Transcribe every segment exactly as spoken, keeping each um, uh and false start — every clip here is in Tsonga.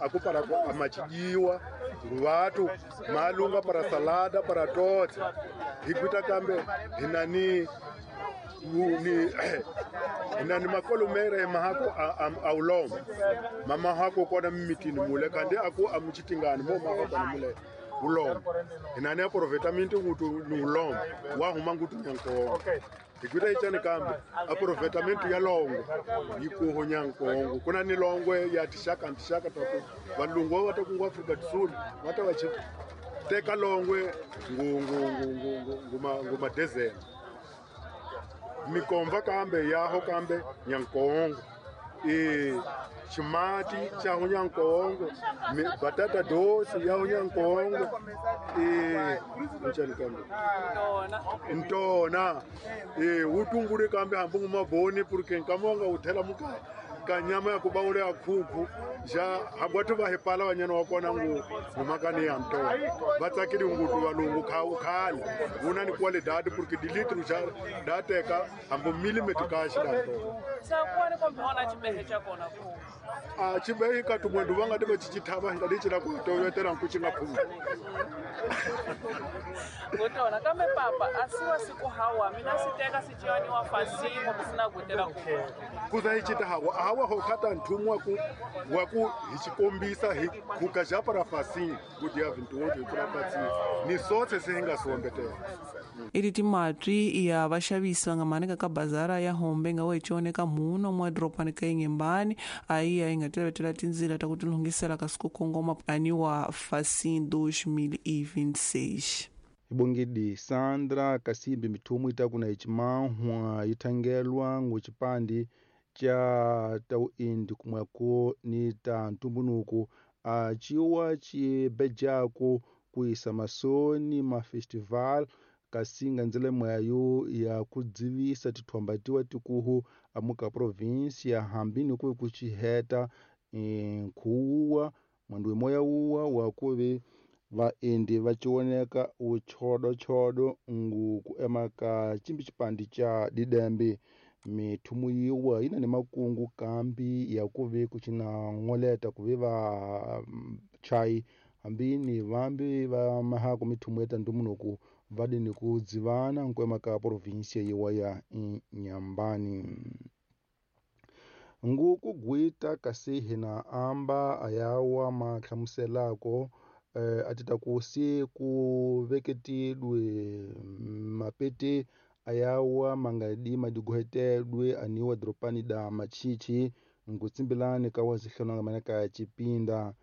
A ku para ku a machijiwa vatu malunga para salada para tote hi kuita kambe hinani ni hinani makolomere mahako a ulomba mama hako kona mitini mule kande aku amuchitingani mo mahako kona mule ulomba hinani aprovetamento ngutu ni ulomba wa huma ngutu nyanko ikuita ichani kambe aprovetamento ya longo ikuho nyankongo kuna ni longwe ya tishaka ntishaka taku valungu wa takungu Afrika Kusini wata wachi teka longwe ngu ngu ngu ngu nguma nguma desert mikomva kambe yaho kambe nyankongo e chimati cha nyankongo batata dosi ya nyankongo e nchani kambe ntona e utungure kambe hambu maboni porque nkamonga uthela muka kanyama ya kubaule ya khuku ja habwatu va hepala vanyana wa kona ngu ngumakani ya ntona vatsakiri ngutu valungu khau khale una ni qualidade porque de litro já da teka hambu milimetro kashi da ntona sakwani kombe ona chibehe chakona ku a chibehe ka tumwendu vanga de chichithava nga dichira ku toyotera nkuchinga phuma ngotona kambe papa asiwa siku hawa mina siteka sichiwani wa fasimo kusina kutela ku kuza ichita hawa hawa ho khata nthumwa ku wa ku hi chikombisa hi kuka ja para fasimo kudia vintu kula patsi ni sotse se hinga sombetela ili timatwi ya vaxavisi va nga manika ka bazara ya hombe nga wechoneka muno mwa dropani ka Inhambane aí a inga tinzila ta kutilungisela ka siku kongoma aniwa Facim dois mil e vinte e seis. Ibongedi Sandra Kasimbi mithumu itakuna ichimahwa ithangelwa nguchipandi cha tauindi kumweko ni ta ntumbunuku achiwa chibejako kuisa masoni ma festival kasinga nzele mwayo ya kudzivisa tithombatiwa tikuhu amuka provinsia hambini kuve kuchiheta nkhuwa mwandu moya uwa wakuve vaendi vachioneka uchodochodo ngu kuemaka chimbi chipandi cha didembe mithumu yiwa ina ni makungu kambi ya kuve kuchina ng'oleta kuve va chai hambini vambi va mahako mithumu ya tandumunuku vadini kudzivana nkuemaka provinsia yiwa ya Inhambane. Nguku gwita kasi hina amba ayawa mahlamuselako eh, atita kusi kuveketilwe mapete ayawa mangadi madigwetelwe aniwa dropani da machichi ngutsimbilani kawazihlonanga manaka chipinda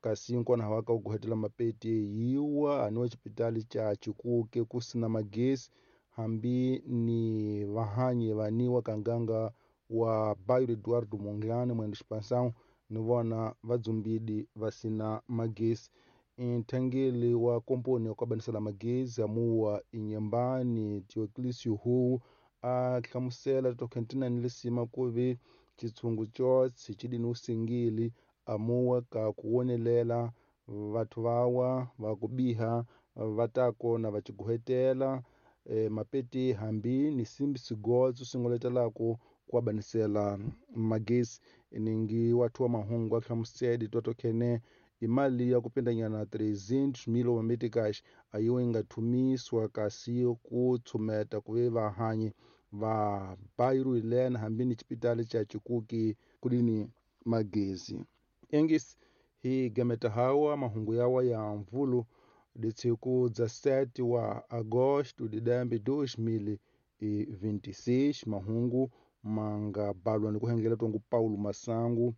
kasi nkona hawaka uguhetela mapete yiwa aniwa chipitali cha Chikuke kusina magesi hambi ni vahanyi vaniwa kanganga wa Bairro Eduardo Mondlane mwendo expansão ni vona vadzumbidi vasina magesi nthangeli wa komponi ya kuabanisela magezi amuwa Inhambane Teoclício Hu a hlamusela tokhentina ni lisima kuve chitshungu chotse chidini usingili amuwa ka kuwonelela vathu vawa va kubiha vatako na vachiguhetela e, mapete hambi ni simbi sigotso singoletelako kuabanisela magesi ningi wathu wa mahungu a hlamusedi totokhene imali ya kupindanyana trezentos mil meticais ayiwe ingathumiswa kasi kutsumeta kuve vahanyi va Bairro Helena hambi ni chipitali cha Chikuke kudini magezi engis hi gameta hawa mahungu yawa ya mvulu disiku dezessete wa agosto de dois mil e vinte e seis mahungu manga balwa ni kuhengela tongu Paulo Masangu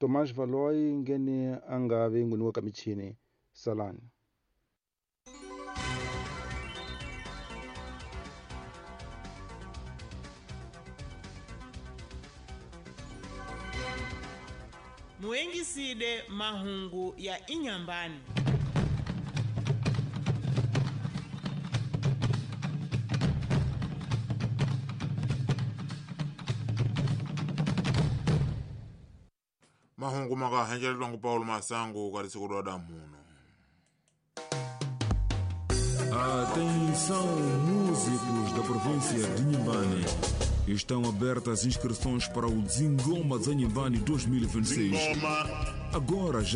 Tomás Valoi ngene angave nguniwa kamichini salani. Muengiside mahungu ya Inhambane. Mahungu makahenjelelwa ngu Paulo Masangu kati muno. Atenção, músicos da província de Inhambane. Estão abertas inscrições para o Zingoma Inhambane dois mil e vinte e seis. Agora já